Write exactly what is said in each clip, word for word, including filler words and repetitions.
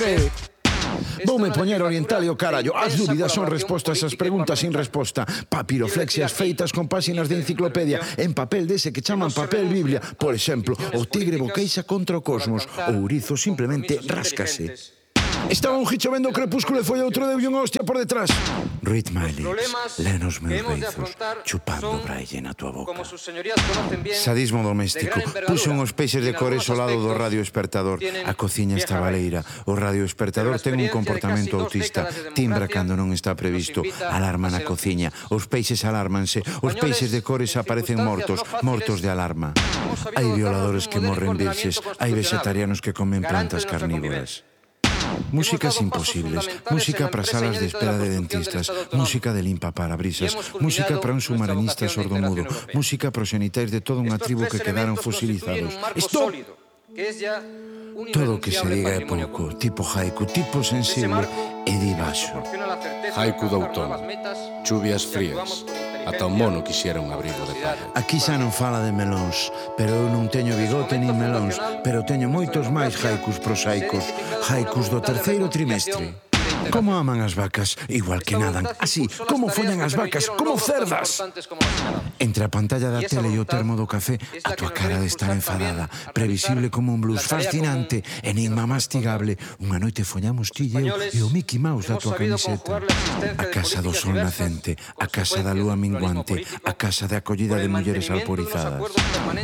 Red. Voume poñer oriental e o carallo. As dúbidas son respostas ás preguntas sin resposta. Papiroflexias feitas con páxinas de enciclopedia en papel dese que chaman papel biblia. Por exemplo, o tigre boqueixa contra o cosmos. O ourizo simplemente ráscase. Estaba un gicho vendo o crepúsculo e foi outro deulle unha hostia por detrás. Read my lips, len os meus beizos, chupando braille na tua boca. Sadismo doméstico. Puxo uns peixes de cores ao lado do radioespertador. A cociña está baleira. O radioespertador ten un comportamento autista. Timbra cando non está previsto. Alarma na cociña. Os peixes alármanse. Os peixes de cores aparecen mortos. Mortos de alarma. Hai violadores que morren virxes. Hai vegetarianos que comen plantas carnívoras. Músicas imposibles, música para salas de espera de dentistas, música de limpa parabrisas, música para un submarinista sordomudo, música para os xenitais de toda unha tribu que quedaron fosilizados. Stop! Todo o que se diga é pouco, tipo haiku, tipo sensible e di baixo. Haiku do outono, chuvias frías, ata un mono quixera un abrigo de palla. Aquí xa non fala de melóns, pero eu non teño bigote nin melóns, pero teño moitos máis haikus prosaicos, haikus do terceiro trimestre. Como aman as vacas, igual que nadan, así, como follan as vacas, como cerdas. Entre a pantalla da tele e o termo do café, a tua cara de estar enfadada, previsible como un blues, fascinante, enigma mastigable. Unha noite follamos ti e eu e o Mickey Mouse da tua camiseta. A casa do sol nacente, a casa da lúa minguante, a casa de acollida de mulleres alporizadas.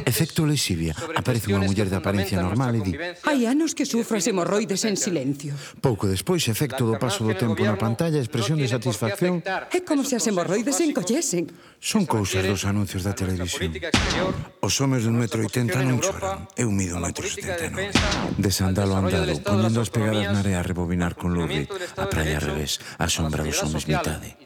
Efecto lexivia, aparece unha muller de apariencia normal e di: hai anos que sufro as hemorroides en silencio. Pouco despois, efecto do paso do tempo na pantalla, expresión de satisfacción. É como se as hemorroides se encollesen. Son cousas dos anuncios da televisión. Os homes dun metro oitenta non choran. Eu mido un metro setenta e nove. De sandalo andado, poñendo as pegadas na area a rebobinar con Lou Reed. A praia ao revés, a sombra dos homes mitade.